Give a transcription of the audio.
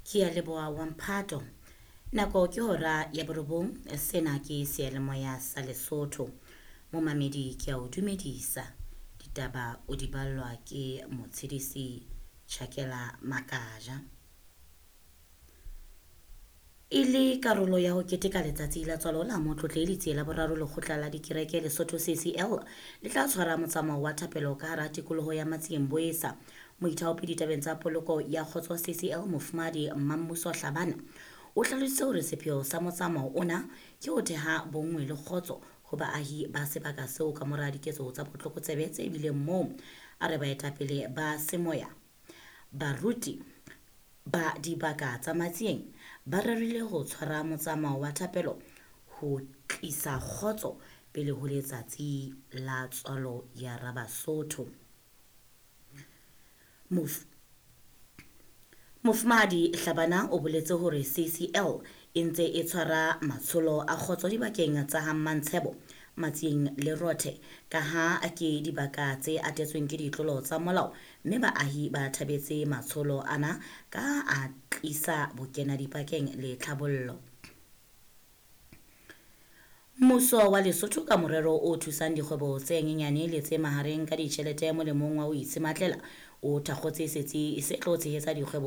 Ke a leboha wa mphato. Nako ke hora ya borobong, sena ke seyalemoya sa Lesotho. Momamedi ke a o dumedisa. Ditaba o di ballwa ke Motshedisi Chakela Makaja. E le karolo ya ho keteka letsatsi la tswalo la Motlotlehi Letsie la Boraro, Lekgotla la Dikereke Lesotho CCL le tla tshwara motsamao wa thapelo ka hara tikoloho ya Matsieng Boesa. Moithaopi ditabeng tsa poloko ya kgotso CCL Mofumahadi Mmammuso Hlabana o hlalositse hore sepheo sa motsamao ona ke ho theha bonngwe le kgotso ho baahi ba sebaka seo ka mora diketso tsa botlokotsebe tse bileng moo. A re baetapele ba semoya, baruti ba dibaka tsa Matsieng ba rerile ho tshwara motsamao wa thapelo ho tlisa kgotso pele ho letsatsi la tswalo ya Rabasotho. Mof Mofumahadi Hlabana o boletse hore CCL e ntse e tshwara matsholo a kgotso dibakeng tsa ha Mmantshebo, Matsieng le Rothe ka ha ke dibaka tse atetsweng ke ditlolo tsa molao mme baahi ba thabetse matsholo ana ka a tlisa bokena dipakeng le tlhabollo. Mmuso wa Lesotho ka morero o thusang dikgwebo tse nyenyane le tse mahareng ka ditjhelete molemong wa ho itshematlela o thakgotse setsi se tlo tshehetsa dikgwebo.